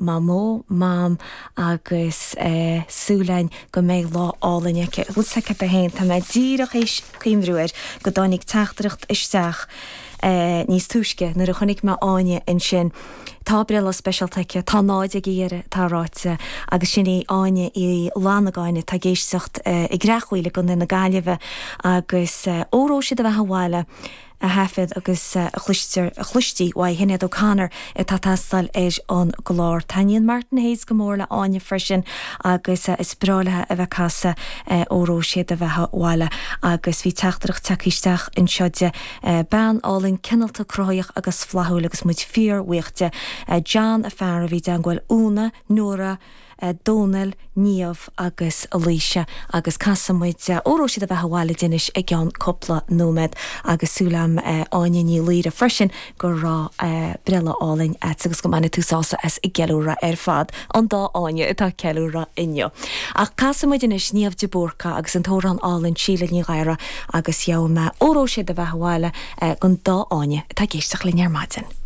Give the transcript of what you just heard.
Mamó, Mam agus súil againn go mbeidh lá álainn aici. Bhfuil 's agat féin, tá mé díreach théis cuimhniú air go dtáinig teachtaireacht isteach níos túisce nuair a chonaic mé Áine ansin. Tá breithlá speisialta aici, tá náid ag iarraidh, atá ráite, agus sin í Áine Uí Fhlannagáin atá ag éisteacht i gCreachmhaoil i gContae na Gaillimhe agus Óró Sé do Bheatha 'Bhaile a thaifead agus a chloistear, a chloistí uaidh Shinéad O'Connor atá ag teastáil ar an gclár. Taitníonn Martin Hayes go mór le Áine freisin agus is breá léi a bheith ag casadh Óró Sé do Bheatha 'Bhaile agus bhí teachtaireacht tagtha isteach anseo de bean álainn cineálta cruthaitheach agus flaithiúil agus muid fíor-bhuíoch de. John a fear a bhí i dteangmháil Úna, Nóra, Dónal, Niamh agus Laoise agus casfaidh muid Óró Sé do Bheatha 'Bhaile di anois i gceann cúpla nóiméad agus súil agam Áine Ní Laoire freisin go raibh breithlá álainn agat agus go mbainfidh tú sásamh as an gceiliúradh ar fad, an dá Áine atá ag ceiliúradh inniu. Ach casfaidh muid anois Niamh de Búrca agus an t-amhrán álainn Síle Ní Ghadhra agus gheobhaidh mé Óró Sé do Bheatha 'Bhaile don dá Áine atá ag éisteacht linn ar maidin.